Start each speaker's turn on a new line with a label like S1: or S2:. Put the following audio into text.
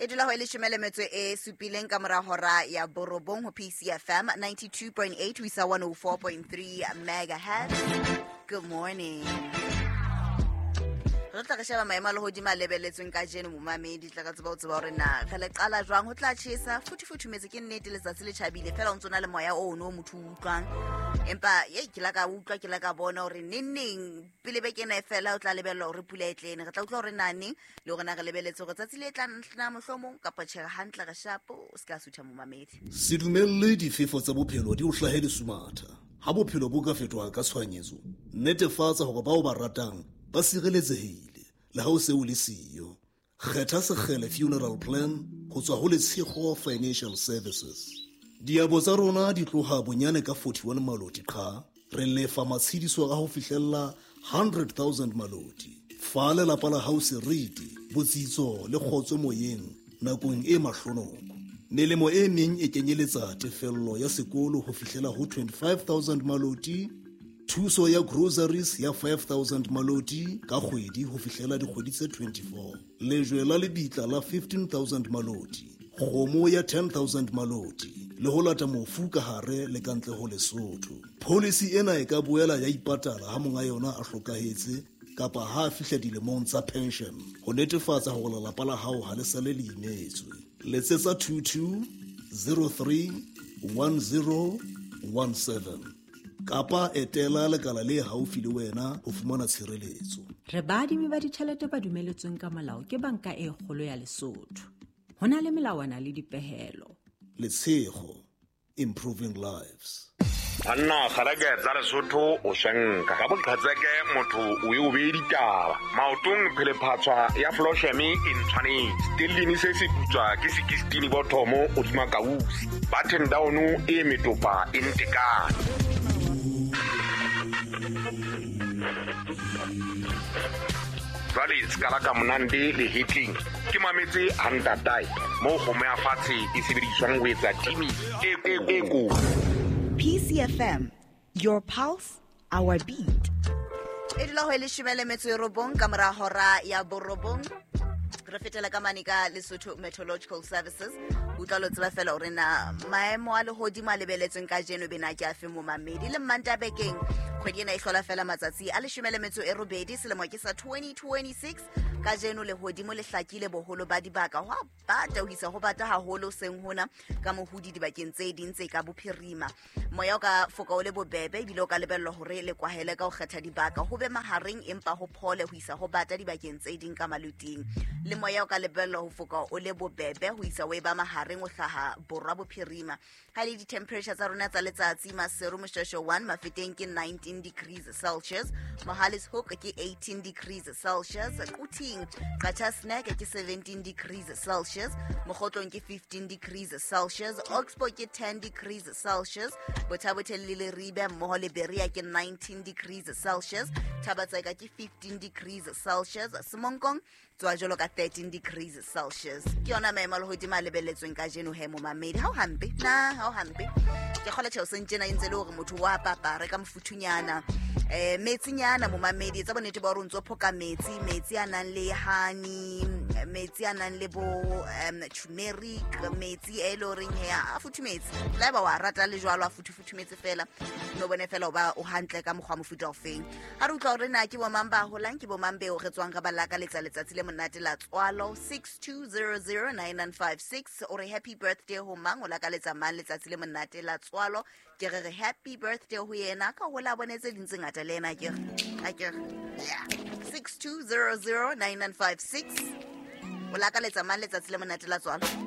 S1: E dula ho e leshome le metso e supileng ka mora hora ya borobong ho PCFM 92.8 ho isa 104.3 megahertz. Good morning. Re tla re sheba maemo a lehodimo a lebeletsweng ka jeno, momamedi, tla ka tseba ho tseba hore na re le qala jwang. Ho tla tjhesa futhufuthumetse, ke nnete, letsatsi le tjhabile fela o ntso na le moya ono o motho o utlwang, empa ye ke la ka utlwa, ke la ka bona hore neng neng pele beke ena e fela o tla lebella hore pula e tlene. Re tla utlwa hore na neng le hore na re lebeletse hore tsatsi le tlang na mohlomong kapa tjhe. Hantle re shapo, o se ka sutha, momamedi.
S2: Se dumelle difefo tsa bophelo di o hlahe lesumatha. Ha bophelo bo ka fetoha ka tshohanyetso, netefatsa hore bao ba ratang ba sireletsehile le ha o se o le siyo. Kgetha Sekgele Funeral Plan ho tswa ho Letshego Financial Services. Diabo tsa rona di tloha bonyane ka 41 maloti qha. Re lefa matshediso a ho fihlella 100,000 maloti. Fa lelapa la hao seriti, botsitso le kgotso moyeng nakong e mahlonoko. Melemo e meng e kenyeletsa tefello ya sekolo ho fihlela ho 25,000 maloti, thuso ya groceries ya 5,000 maloti ka kgwedi ho fihlela dikgwedi tse 24, lejwe la lebitla la 15,000 maloti, kgomo ya 10,000 maloti le ho lata mofu ka hare le ka ntle ho Lesotho. Policy ena e ka boela ya ipatala ha monga yona a hlokahetse kapa ha a fihla dilemong tsa pension, ho netefatsa hore lelapa la hao ha le sale le imetswe. Letsetsa 22 03 10 17 kapa etela lekala le haufi le wena ho fumana tshireletso.
S3: Re baadimi ba ditjhelete ba dumeletsweng ka molao ke Banka e Kgolo ya Lesotho. Ho na le melawana le dipehelo.
S2: Letshego, improving lives.
S4: Banna, kgaleke tsa Lesotho o shenka ka boqhetseke, motho o e o bee ditaba maotong. Phelephatshwa ya flosheme e ntshwanetse stellini se se putswa ke 16 bothomo hodima kausi button down e metopa e ntekane. Jwale sekala ka monande le hetleng ke mametse hantatae moo kgomo ya fatshe e sebediswang ho etsa timi e ko.
S1: PCFM, your pulse, our beat. E dula ho e leshome le metso e robong ka mora hora ya borobong. Re fetela ka mane ka Lesotho Meteorological Services, utlwa lo tseba fela hore na maemo a lehodimo a lebeletsweng ka jeno bena ke afe, momamedi. Le Mmantabekeng, kgwedi ena e hlola fela matsatsi a 18, selemo ke sa 2026. Ka jeno lehodimo le hlakile boholo ba dibaka, ho a bata ho isa ho bata haholo seng hona ka mohodi dibakeng tse ding tse ka bophirima. Moya o ka foka o le bobebe, ebile o ka lebellwa hore le kwahele ka ho kgetha dibaka, ho be mahareng empa ho phole ho isa ho bata dibakeng tse ding ka maluting. Le moya o ka lebellwa ho foka o le bobebe ho isa o e ba mahareng o hlaha borwa bophirima. Ha le di-temperature tsa rona tsa letsatsi, Maseru, Moshweshwe 1, Mafeteng ke 19 degrees Celsius, Mohale's Hoek ke 18 degrees Celsius, Quthing, Qacha's Nek ke 17 degrees Celsius, Mokhotlong ke 15 degrees Celsius, Oxbow ke 10 degrees Celsius, Botha-Bothe le Leribe mmoho le Berea ke 19 degrees Celsius, Thaba-Tseka ke 15 degrees Celsius, Semonkong tswa jwalo ka 13 degrees Celsius. Ke yona maemo a lehodimo a lebelletsweng ka jeno he, momamedi. Ha o hampe na, ha o hampe. Ke kgola tjheo sentjena e ntse le hore motho wa papa reka mofuthunyana, metsinyana, momamedi. Etsa bonnete ba hore o ntso phoka metsi, metsi a nang le honey, metsi a nang le bo turmeric, metsi e le horeng he a futhumetse. Le haeba wa rata le jwalo a futhufuthumetse fela, no bone fela o ba o hantle ka mokgwa mofuta ofeng. Ha re utlwa hore na ke bomang ba holang, ke bomang beo re tswang re ba lakaletsa letsatsi le monate la tswalo. 62009956, o re happy birthday ho mang, o lakaletsa mang letsatsi le monate la tswalo. Ke re re happy birthday ho yena, ka hola bone tse ding tse ngata le yena. Ke re a ke re yeah. 62009956, o lakaletsa mang letsatsi le monate la tswalo?